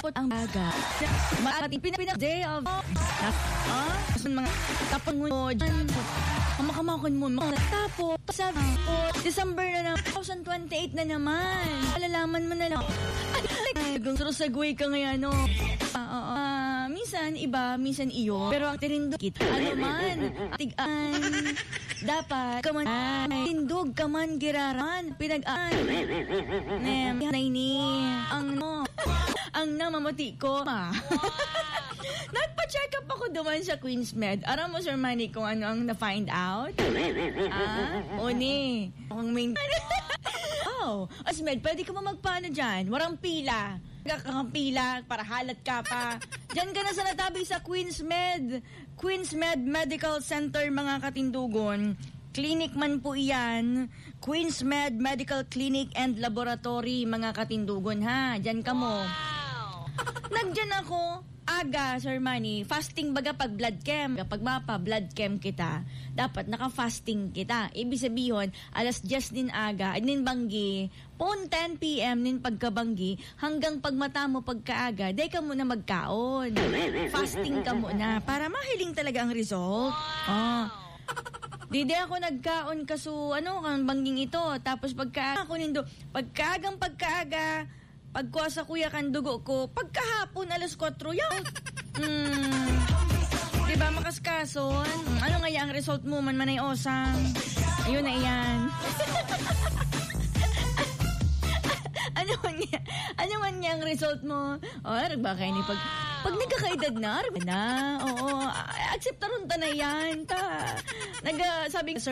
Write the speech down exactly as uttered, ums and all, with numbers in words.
Tapos ang aga. Mati, pina-, pina-, day of, ah, mga tapon mo dyan. Makamakon mo, mga tapos, sabi ko, December na naman, two thousand twenty-eight na naman. Malalaman mo na lang. Ay, gusto segue ka ngayon, no? Ah, oo. Ah, minsan iba, minsan iyo. Pero ang tinindo kita, ano man, tigaan. Dapat ka man, tindog ka man, giraran, pinag-an. Nem, na ini, ang no, ang namamati ko, ma. Nagpa-check up ako duman sa Queens Med. Aram mo, Sir Manny, kung ano ang na-find out? Ah, oni. Ang main. Oh, as Med, pwede ka mo magpaano dyan? Warang pila. Kang pila, para halat ka pa. Diyan ka na sa natabi sa Queens Med. Queens Med Medical Center, mga katindugon. Clinic man po iyan. Queens Med Medical Clinic and Laboratory, mga katindugon, ha. Diyan ka mo. Nagdiyan ako, aga, Sir Manny, fasting baga pag blood chem. Kapag mapa blood chem kita, dapat naka-fasting kita. Ibig sabihin, alas diyes nin aga, nin banggi, pon ten p m nin pagkabanggi, hanggang pagmata mo pagkaaga, dai ka muna magkaon. Fasting ka muna para mahiling talaga ang result. Oh. Di, di ako nagkaon kaso, ano, kan bangging ito. Tapos pagka, ako nindo, pagkaagang pagkaaga, pagkuha sa kuya kan dugo ko, pagkahapon alas kwatro, yan. Hmm. Di ba, makaskason? Ano nga yan ang result mo, man manay osang? Ayun na yan. Ano man niya? Ano man niya ang result mo? O, arag ba kayo ni pag, pag nagkakaedad na, arag na. Oo, a-, akseptaron ta na yan. Ta, nag, ah, sabi ko, Sir